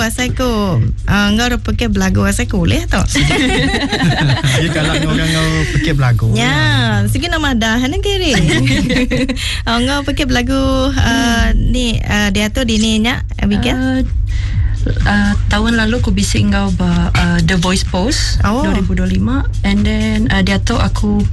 asai ku uh, enggau pekit belagu asai ku ulih tu. Sigi kala enggau orang enggau pekit belagu. Ya, sigi nama dah ne kiri. Oh, enggau pekit belagu uh, ni uh, diatu dini nya Abigail. Uh, uh, tahun lalu aku bisi enggau ba uh, The Voice Post Oh. 2025 and then uh, diatu aku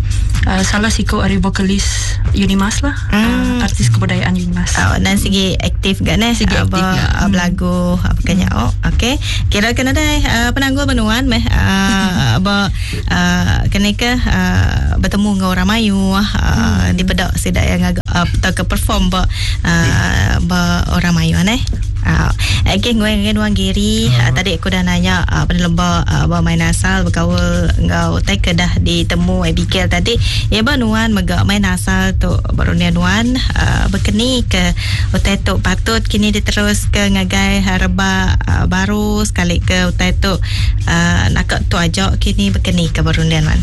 uh, salah siku ari vokalis Unimas lah uh, artis kebudayaan Unimas. Oh, dan sigi aktif ga neh Sigi Ah, aktif ba ga. ah, belagu apa kanya oh okey kira ke nadai uh, penanggul menuan meh uh, ba uh, kene ke uh, betemu enggau orang mayuh uh, dipeda sida yang ngaga uh, tauka perform ba uh, ba orang mayuh neh. Uh, okay, ngui ngagai nuan Gary. Uh, tadi aku dah nanya uh, peneleba uh, ba main asal bekaul enggau utai ke dah ditemu Abigail tadi. Ya ba nuan mega main asal tu ba runding nuan uh, bekeni ke utai tu patut kini diteruska ngagai rebak uh, baru sekali ke utai tu uh, naka tu aja kini bekeni ke ba runding nuan.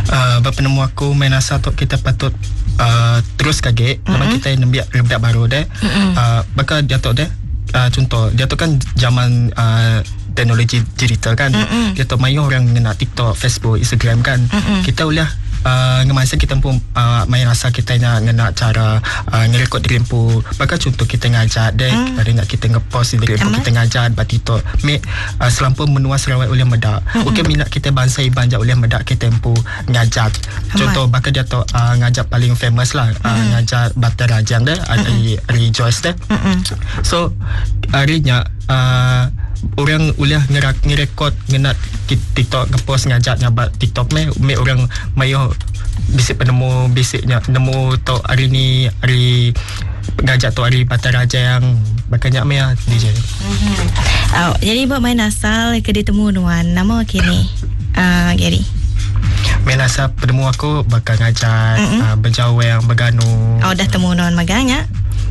Uh, ba penemu aku main asal tu kita patut uh, terus kage mm-hmm. laban kita nembiak rebak baru deh. Mm-hmm. Uh, baka diatu deh uh, contoh diatu kan zaman uh, teknologi digital kan. Mm-hmm. Diatu mayuh orang ngena TikTok, Facebook, Instagram kan. Mm-hmm. Kita boleh uh, ngemasa kita pun uh, main rasa kita nya ngena cara uh, ngerekod diri empu. Baka contoh kita ngajar deh, mm. ada nak kita ngepost diri empu kita ngajar ba TikTok. Me uh, selampur menua Sarawak boleh medak. Mm-hmm. Okey minat kita bangsa Iban jak boleh medak kita empu ngajar. Contoh baka dia tu uh, ngajar paling famous lah uh, mm. ngajar Batai Rajang deh, mm. ari Joyce deh. Mm-hmm. So hari nya uh, orang uliah ngerak ngerekod ngena TikTok ngepost ngajak nyabat TikTok meh me orang mayo bisik penemu bisiknya nemu tok hari ni hari ngajak tok hari Batai Rajang bakanya meh ah, DJ. Mm-hmm. Oh, jadi buat main asal ke ditemu nuan nama kini uh, Gary. Main asal penemu aku bakal ngajar mm-hmm. uh, berjawang berganu. Oh dah temu nuan magangnya.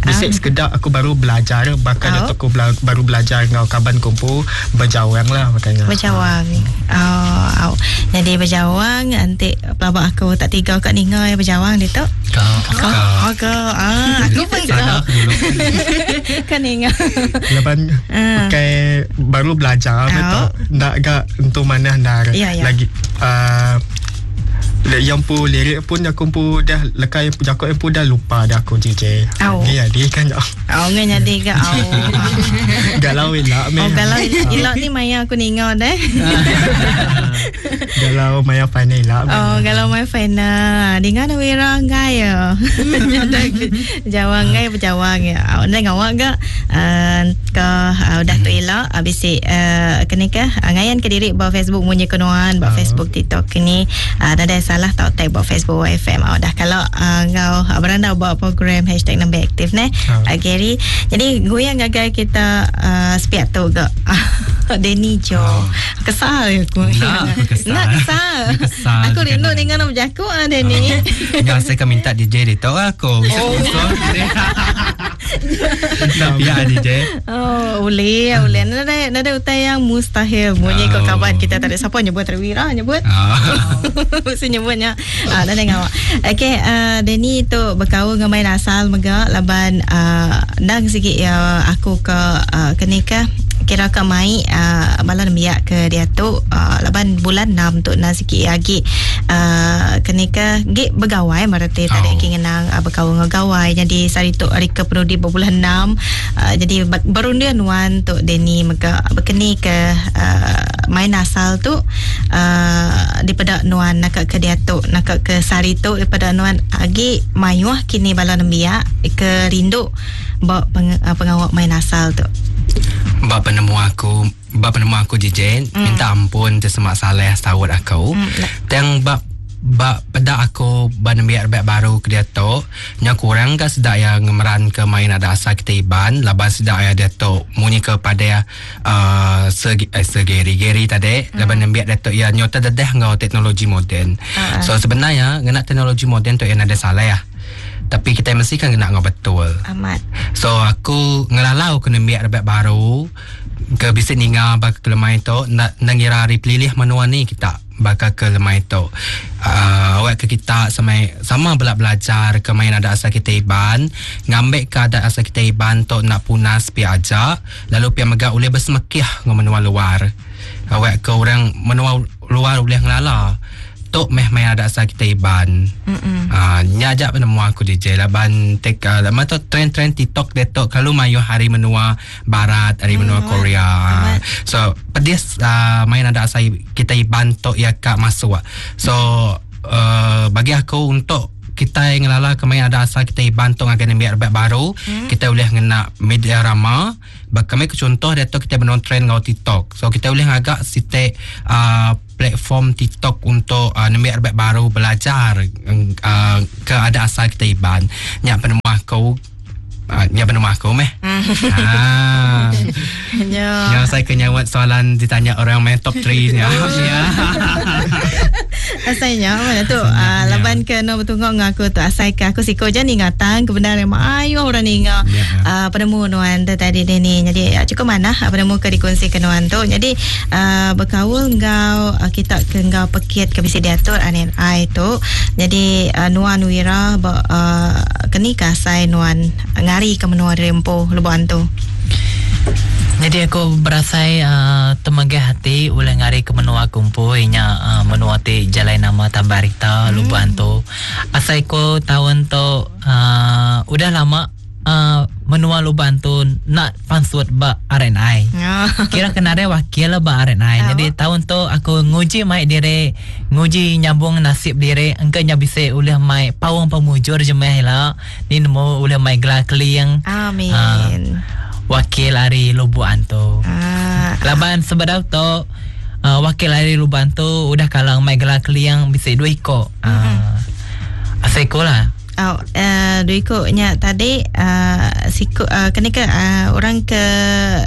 Bisik sekedar aku baru belajar bakal oh. aku bela- baru belajar ngau kaban kumpu berjawang lah makanya. Berjawang. Oh, oh. Jadi berjawang nanti pelabak aku tak tiga kat ninga ya berjawang dia tu. Kau Kau. Oh, kau. Ah, aku pun kau. Kan ninga. Lepas Ah. pakai baru belajar Oh. betul. Ndak gak untuk mana dah Ya, ya. lagi uh, yang pu lirik pun aku pu dah lekai jakok yang pu dah lupa dah aku JJ. Oh. Ni jadi kan Oh, ngan jadi ke. Oh. galau elak Oh, meh. galau ilok ni maya aku ninga deh. Galau maya final elak meh. Oh, kalau main final, dengar na wira ngai ya. Jawang ngai berjawang ya. Oh, nang awak ga uh, ke uh, udah tu elok habis si uh, kene ke uh, ngayan ke diri ba Facebook munyi kenuan ba Ah. Facebook TikTok kini uh, dah ada salah tau tag ba Facebook YFM. Oh, dah kalau uh, ngau uh, beranda ba program hashtag nembe aktif ne. Ah. Uh, Gary. Jadi goyang gagai kita uh, sepiak tu ga. Denny Jo. Kesal aku. Nak aku kesal. Nak kesal. Kesal Aku rindu kadang. dengan nak berjakuk ah Denny. Yang saya kan minta DJ dia tahu aku. Oh. Tapi ya DJ. Oh, boleh, boleh. Nada nada utai yang mustahil. Bunyi kau Oh. kawan kita tadi siapa nyebut terwira nyebut. Ah. Mesti nyebutnya. Ah, nada ngawak. Okey, uh, Denny tu berkaul dengan main asal mega laban uh, nang sikit ya aku ke uh, kene ke kira ke mai uh, bala nembiak ke dia tu uh, laban bulan 6 tu nang sikit lagi uh, kene ke gik begawai marati tadi Oh. oh. ngenang uh, berkaul dengan gawai jadi sari tu hari ke penudi berbulan 6 uh, jadi berundian wan tu Denny mega berkeni ke uh, main asal tu uh, daripada nuan nak ke dia tu nak ke sari tu daripada nuan agi mayuh kini bala nembiak ke rindu ba peng, uh, pengawak main asal tu Bab penemu aku, bab penemu aku DJ, minta ampun tersemak salah sawut aku. Tang bab bab pedak aku ban nembiak rebak baru ke dia tu nya kurang ke sedak yang ngemeran ke main ada asal kita iban laban sedak ya dia tu munyi kepada uh, segi, eh, segeri-geri tadi laban nembiak dia tu ya nyota dedah ngau teknologi moden. So sebenarnya ngena teknologi moden tu yang ada salah ya. Tapi kita mesti kan kena ngau betul. amat So aku ngelalau ke nembiak rebak baru ke bisik ninga bak kelemai tu nak nak ngira hari pelilih menua ni kita. baka ke lemai tu. Uh, awak ke kita sama sama bela belajar ke main adat asal kita Iban, ngambi ke adat asal kita Iban tu nak punas pia aja, lalu pia mega ulih besemekih enggau menua luar. Awak ke orang menua luar ulih ngelala tu meh main adat asal kita Iban. Ah, nya aja penemu aku DJ laban tek uh, lama tu trend-trend TikTok dia tu kalau mayuh hari menua barat, hari menua Korea. So pedis uh, main adat asal kita Iban tu ya ka masuk. So uh, bagi aku untuk kita ngelala ke main adat asal kita Iban tu ngagai nembiak rebak baru, kita boleh ngena media rama. Kami ke contoh dia tu kita benung trend ngau TikTok. So kita boleh ngagak site platform TikTok untuk nembiak rebak baru belajar ke adat asal kita Iban. Nya penemu aku nya penemu aku meh. Ah. Ya. Yang saya kena nyawat soalan ditanya orang main top 3 nya. Ya. Asalnya mana tu laban ke no betungok ngau aku tu asai ke aku siko je ni ngatang kebenaran ayo orang ninga Ya. penemu nuan tu tadi ni. Jadi cukup manah penemu ke dikongsi ke nuan tu. Jadi berkaul ngau kita ke ngau pekit ke bisi diatur RNI tu. Jadi nuan Wira keni ke asai nuan ngari ke menua Rempo Lubuk Antu. Jadi aku berasai temegah hati ulih ngari ke menua kumpul nya menua ti jalai nama Tabarita Lubuk Antu. Asai ko tahun tu udah lama menua Lubuk Antu nak pansut ba RNI. Kira kena ada wakil ba RNI. Jadi tahun tu aku nguji mai diri, nguji nyambung nasib diri, engkau nya bisa ulih mai pawang pemujur jemeh lah. Ni nemu ulih mai gelar keling. Amin. Wakil ari Lubuk Antu. Laban sebedau tu wakil ari Lubuk Antu udah kalang mai gelar keliang bisa dua iko. Asai ko lah. Oh, dua iko nya tadi siku kena ke orang ke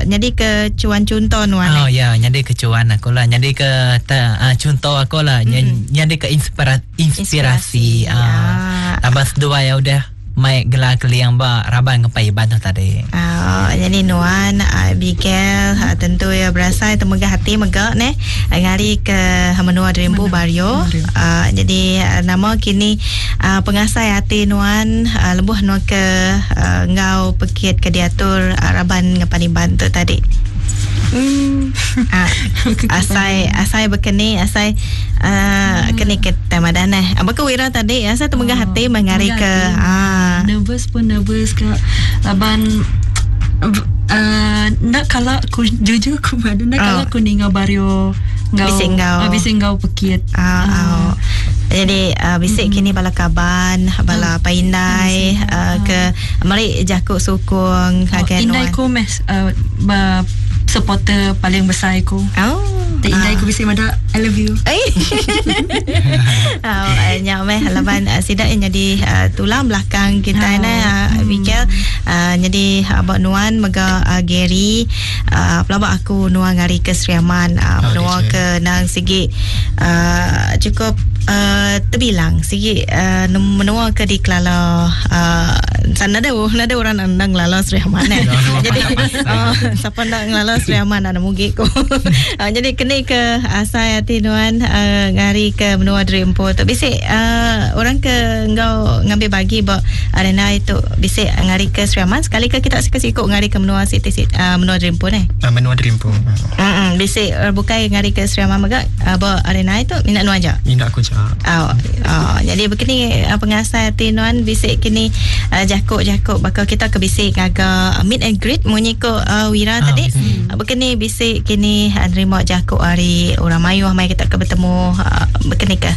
jadi ke cuan contoh nuan. Oh ya, jadi ke cuan aku lah, jadi ke contoh aku lah, jadi ke inspirasi. Abang dua ya udah mai gelar keliang ba raban ngepai iban tu tadi. Jadi nuan Abigail tentu ya berasai temegah hati megak ne ngari ke menua Dreambu Bario. Jadi nama kini pengasai hati nuan lebuh nuan ke ngau pekit ke diatur raban ngepan iban tu tadi. Asai asai bekeni asai keni ke tema dah neh. Apa ke Wira tadi asai temegah hati mengari ke nervous pun nervous ke laban nak kalau aku jujur aku pada nak kalau aku ninga Bario ngau bising ngau pekit. Jadi bisik kini bala kaban bala paindai ke mari jakuk sukung kagen indai ku mes supporter paling besar aku. Indai aku bisik mada I love you. Nyak meh laban sidak yang jadi tulang belakang kita ne Abigail jadi abak nuan mega Gary pelabak aku nuan ngari ke Sri Aman menua ke nang sigi cukup terbilang sigi menua ke di Kelala sana ada orang nang ngelala Sri Aman eh. Jadi siapa nak ngelala Sri Aman nak mugi ko. Jadi kena ke asai hati nuan ngari ke menua Dreampo tu bisik orang ke ngau ngambil bagi ba arena itu bisik ngari ke Sri Aman sekali ke kita sikit-sikit ngari ke menua Siti menua Dreampo ne. Menua Dreampo. Bisik bukai ngari ke Sri Aman mega ba arena itu minat nuan aja. Minat aku je. Jadi begini pengasai hati nuan bisik kini jakuk-jakuk bakal kita ke bisik ngaga meet and greet munyi ko Wira tadi. Begini bisik kini nerima jakuk hari orang mayuh mai kita ke bertemu begini ke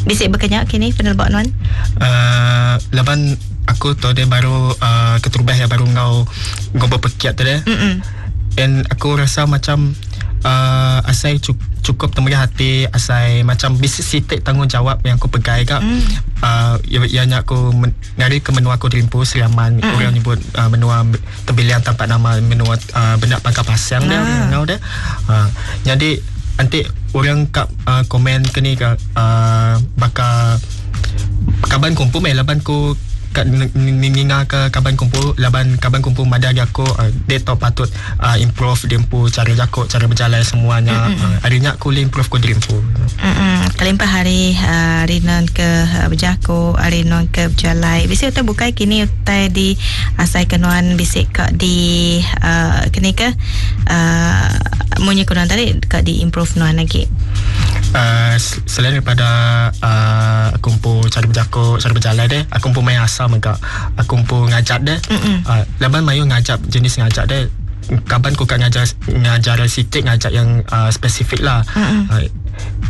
bisik berkenyak kini penelbak nuan. Laban aku tu dia baru keterubah ya baru ngau berpekiat tu dia. And aku rasa macam asai cukup temegah hati, asai macam bisik sitik tanggungjawab yang aku pegai kak. Ya nya aku ngari ke menua aku Dreampo Sri Aman. Orang nyebut menua terbiliang tanpa nama menua benak pangkal pasang dia ngau dia. Jadi nanti orang kat komen ke ni bakal kaban kumpul meh laban ku ka ninga ke kaban kumpu laban kaban kumpu madah agi aku dia tau patut uh, improve dia empu cara jako cara berjalai semuanya mm-hmm. uh, hari nya aku boleh improve ku diri empu. Mm-hmm. Kelimpah hari hari non ke berjako hari non ke berjalai bisi utai bukai kini utai di asai ke nuan bisi ka di uh, kini ke uh, munyi ku nuan tadi ka di improve nuan lagi. Uh, selain daripada uh, aku empu cara berjako cara berjalai deh aku empu main asal mega aku empu ngajat deh uh, laban mayu ngajat jenis ngajat deh kaban ku kat ngajar ngajar sikit ngajat yang uh, spesifik lah uh,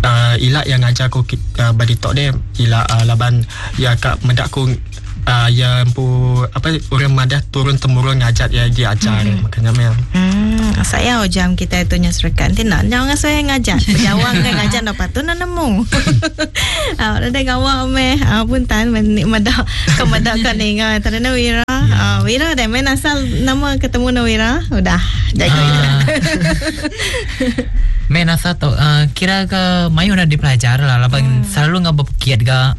uh, ilak yang ngajar aku uh, body talk deh ilak uh, laban ya kak mendak aku uh, ya empu apa orang madah turun temurun ngajat ya dia ajar mm. makanya memang hmm saya jam kita itu nya serekan ti nak jangan saya ngajat berjawang kan ngajat dapat tu nak nemu ah dah gawa me pun tan medak ke medak kan ninga tadi na Wira yeah. Wira dah main asal nama ketemu na Wira udah jaga uh. Main asal tu uh, kira ke mayu dah dipelajar lah laban hmm. selalu ngah berpikir ga.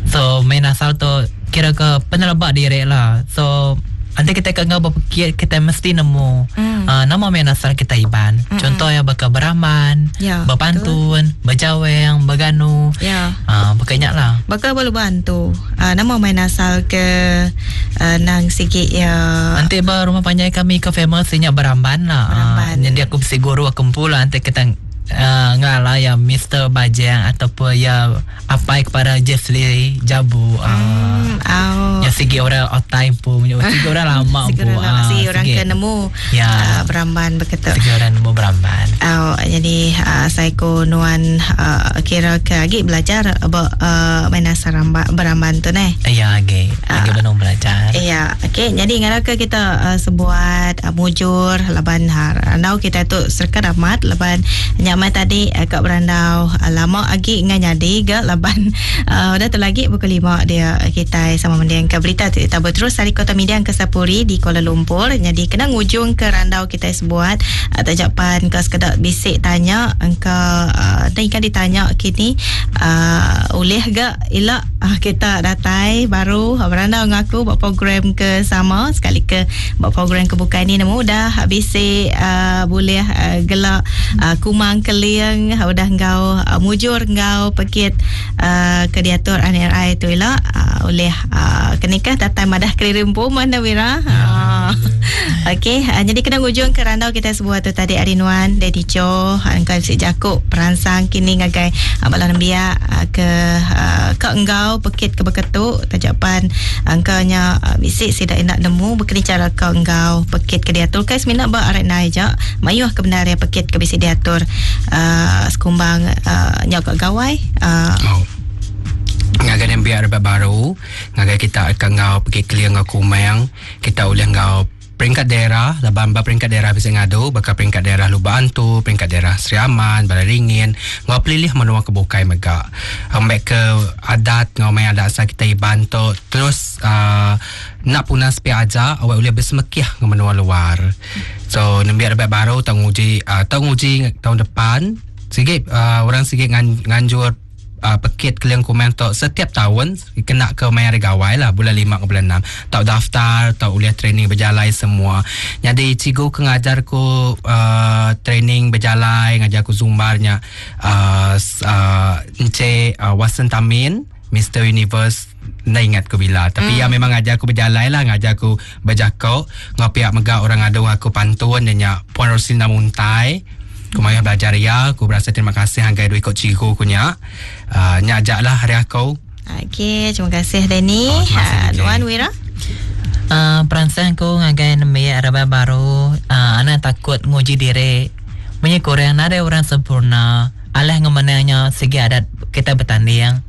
So main asal tu kira ke penelebak diri lah. So nanti kita ke ngah berpikir kita mesti nemu mm. uh, nama main asal kita Iban. Mm-mm. Contoh ya baka beraman, ya, berpantun, betul. Berjaweng, berganu. Ya. Uh, berkenyak lah. Baka balu bantu. Uh, nama main asal ke uh, nang sikit ya. Nanti ba rumah panjai kami ke famous nya beramban lah. Beramban. Uh, jadi aku mesti guru aku pula nanti kita uh, ngalah ya Mr. Bajang ataupun ya apai kepada Jesli Jabu. Uh, oh. Ya segi orang otai pun, segi orang lama pun. Segi orang ke nemu ya. Uh, beramban begitu. Segi orang nemu beramban. Oh, jadi uh, saya ko nuan uh, kira ke lagi belajar about uh, main asal beramban tu neh. Ya lagi, lagi belum belajar. Ya, okey. Jadi ngarap ke kita uh, sebuat uh, mujur laban har. Andau kita tu serka amat laban nyamai tadi uh, kat berandau uh, lama lagi ngan jadi ke laban uh, dah tu lagi pukul 5 dia kita sama mendiang ke berita kita berterus dari Kota Media ke Sapuri di Kuala Lumpur. Jadi kena ngujung ke randau kita sebuat uh, tajapan ke sekedar bisik tanya engka uh, dan ikan ditanya kini uh, oleh gak elak uh, kita datai baru uh, berandau ngaku buat program ke sama sekali ke buat program ke bukan ni nemu dah bisik uh, boleh uh, gelak uh, kumang keliang uh, udah ngau uh, mujur ngau pekit uh, ke diatur NRI tu elak uh, oleh uh, kenikah datai madah kelirimpu mana Wira. Uh, Okey, uh, jadi kena ngujung ke randau kita sebuah tu tadi Arinuan Daddy Cho engkau si Jakub peransang kini ngagai uh, bala nembiak uh, ke uh, ke enggau pekit ke beketuk tajapan engkau nya uh, bisik sidak nak nemu berkini cara ke enggau pekit ke diatur kai semina ba arek nai ja mayuh ke benar ya pekit ke bisik diatur uh, sekumbang uh, nyau ke gawai uh, oh. Ngagai nembiak rebak baru ngagai kita ke enggau pekit keling enggau kumang kita ulih enggau peringkat daerah, laban ba peringkat daerah bisa ngadu, bakal peringkat daerah Lubak Antu, peringkat daerah Sri Aman, Balai Ringin, ngau pelilih menua ke bukai mega. Ambek ke adat, ngau main adat asal kita Iban tu, terus uh, nak punas pi aja, awak boleh bersemekih ke menua luar. So, nembiak rebak baru tahun uji, uh, tahun uji tahun depan, sikit uh, orang sikit ngan, nganjur Uh, pekit keliang kumang tu setiap tahun kena ke main hari gawai lah bulan 5 ke bulan 6 tak daftar tak boleh training berjalai semua. Jadi cikgu ke ngajar ku uh, training berjalai ngajar ku zumbarnya uh, uh, Encik uh, Watson Tamin Mr. Universe nak ingat ku bila tapi ya memang ngajar aku berjalai lah ngajar aku berjakok ngopiak megak orang adu aku pantun dan Puan Roslina Muntai ku maya belajar ya, aku berasa terima kasih hanggai dua ikut cikgu ku nya. Uh, nya ajak lah hari aku. Okey, terima kasih Danny. Oh, terima kasih, DJ. Nuan Wira. Uh, peransang ku ngagai nembiak rebak baru, uh, anak takut nguji diri. Munyi kurang ada orang sempurna. Alah ngemenangnya segi adat kita bertanding.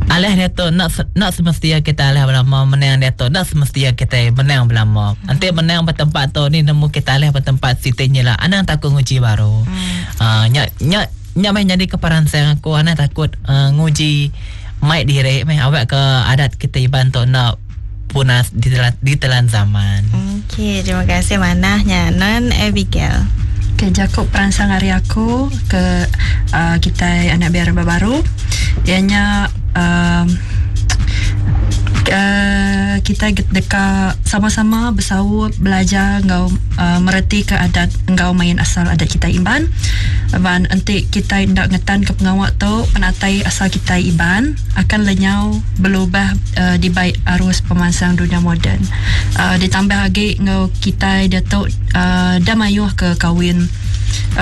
Alah dia tu nak nak semestinya kita alah belama menang dia tu nak semestinya kita menang belama. Nanti menang bertempat tu ni nemu kita alah bertempat sitinya lah. Anak takut nguji baru. Uh, nyak nyak nyak main jadi keperansang aku anak takut uh, nguji mai diri mai awak ke adat kita Iban tu nak punas ditelan, ditelan zaman. Okey, terima kasih manahnya Non Abigail. Okay, Jacob peransang hari aku ke uh, kita anak biar baru. Ianya Uh, kita deka sama-sama besaup belajar enggau uh, meretika adat enggau main asal adat kita Iban. Laban enti kita enda ngetan ke pengawa tu, penatai asal kita Iban akan lenyau berubah uh, dibai arus pemansang dunia moden. Ditambah lagi enggau kita dia tu dah mayuh ke kawin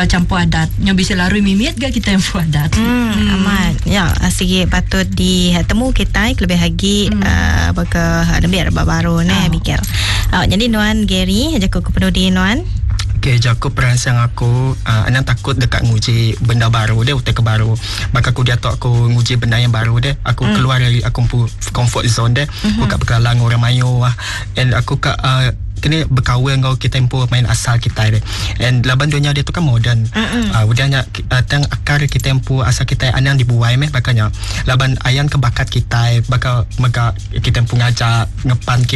campur adat. Yang bisa lari mimit gak kita yang adat. Amat. Ya, sigi patut ditemu kita lebih lagi baka lebih rebak baru ne oh. Abigail. Jadi nuan Gary, jaku ke penudi nuan. Okay, jaku peransang aku anang takut dekat nguji benda baru deh, utai ke baru. Baka aku diatu aku nguji benda yang baru deh. Aku keluar dari aku comfort zone deh. Aku kat berkenalan dengan orang mayu ah. And aku kat kini berkawin dengan kita empu main asal kita deh. And laban dunia dia tu kan moden. Udah nya tang akar kita empu asal kita anang dibuai meh bakanya. Laban ayan ke bakat kita baka mega kita empu ngajak ngepan.